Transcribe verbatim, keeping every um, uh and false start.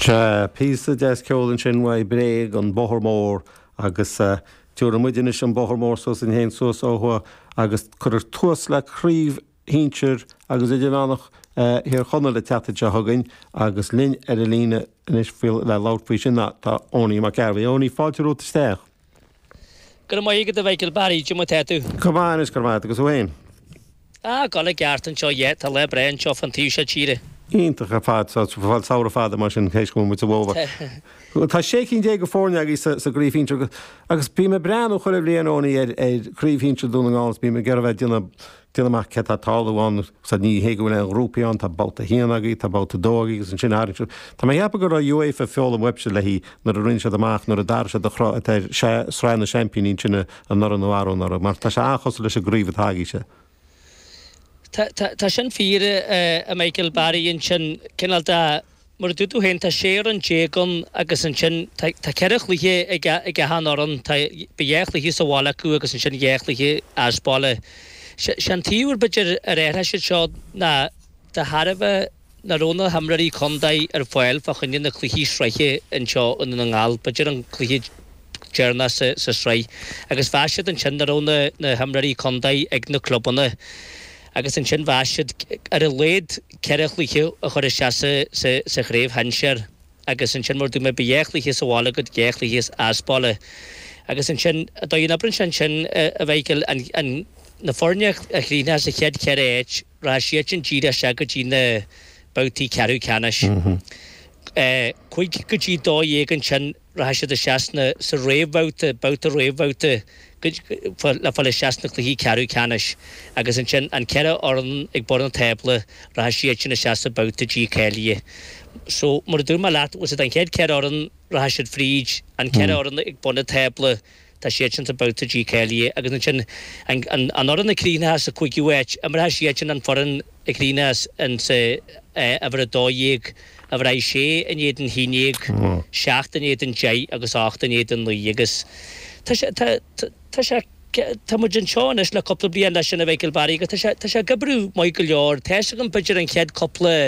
Sea, píosa deas ceoil ansin uaidh Bréag, An Bóthar Mór, agus tabharfaidh muid anois an bóthar mór suas linn féin suas ó thuaidh agus cuirfear tús le craobh shinsir agus idirmheánach Thír Chonaill an tseachtain seo chugainn agus linn ar an líne anois le labhairt faoi sin tá Owenie Mac Gairbheith. Owenie, fáilte romhat isteach. Go raibh maith agat a Mhichael Barry, cad é mar atá tú? Go maith anois, go raibh maith agat agus thú féin? Ah, ag dul i gceart anseo, yeah, tá lá breá anseo fán taobh seo tíre. Iontach ar fad, tá fáil samhradh fada mar sin théis go bhfuil muid sa bhfómhar. Tá sé cinn déag de foirne agaibh sa sa gcraobh shinsir agus bím ag breathnú chuile bhliain Owenie ar ar chraobh shinsir Dún na nGall is bím ag iarraidh bheith ag déanamh déanamh amach cé tá ag tarlú ann so ní hé go bhfuil aon ghrúpaí ann, tá babhta a haon agaibh, tá babhta a dó agaibh agus ansin tharraing siad. Tá mé ag ceapadh go raibh UEFA ag foghlaim uaibhse léi nuair a rinne siad amach nuair a d'athraigh siad an cruth atá ar Sraith na Seaimpíní ansin anuraidh nó arú anuraidh mar tá sé an-chosúil leis an gcraobh atá agaibhse. Tá sin fíor, a Michael Barry, ansin, cineál de, mar a dúirt tú féin, tá sé fhoireann déag ann agus ansin tá ceithre chluiche ag achan fhoireann, tá, beidh dhá chluiche sa bhaile acu agus ansin dhá chluiche as baile. Sé an taobh ar b'fhéidir ar athraigh siad seo ná de thairbhe nach raibh na himreoirí contae ar fáil fá choinne na cluichí sraithe anseo i nDún na nGall, b'fhéidir an cluiche deireanach sa sraith agus mheas siad ansin nach raibh na na himreoirí contae ag na clubanna agus ansin mheas siad ar a laghad ceithre chluiche a chur isteach sa sa sa chraobh shinsear agus ansin mar a dúirt mé beidh dhá chluiche sa bhaile agat dhá chluiche as baile agus ansin an dóigh a n-oibríonn sé ansin a Mhichael an an na foirne a chríochnós sa chéad cheithre áit rachaidh siadsan díreach isteach go dtí na babhtaí ceathrú ceannais. Cúig go dtí dó dhéag ansin rachaidh siad isteach sna, sa réamhbhabhta, babhta réamhbhabhta le fáil isteach sna cluichí ceathrú ceannais agus ansin an ceithre fhoireann ag bun an tábla rachaidh siadsin isteach sa babhta dícháilithe. So mar a dúirt mé leat, bhfuil a fhios agat an chéad ceithre fhoireann rachaidh siad fríd, an ceithre fhoireann ag bun an tábla tá siadsin sa babhta dícháilithe agus ansin an an fhoireann a chríochnós sa cúigiú háit, imreoidh siadsin an foireann a chríochnós in sa uimhir a dó dhéag, uimhir a sé in éadan a haon déag, seacht in éadan deich agus ocht in éadan naoi agus tá sé tá tá sé tá muid anseo anois le cúpla bliain leis sin a Mhichael Barry agus tá sé tá sé ag oibriú maith go leor. Tá a fhios agam b'fhéidir an chéad cúpla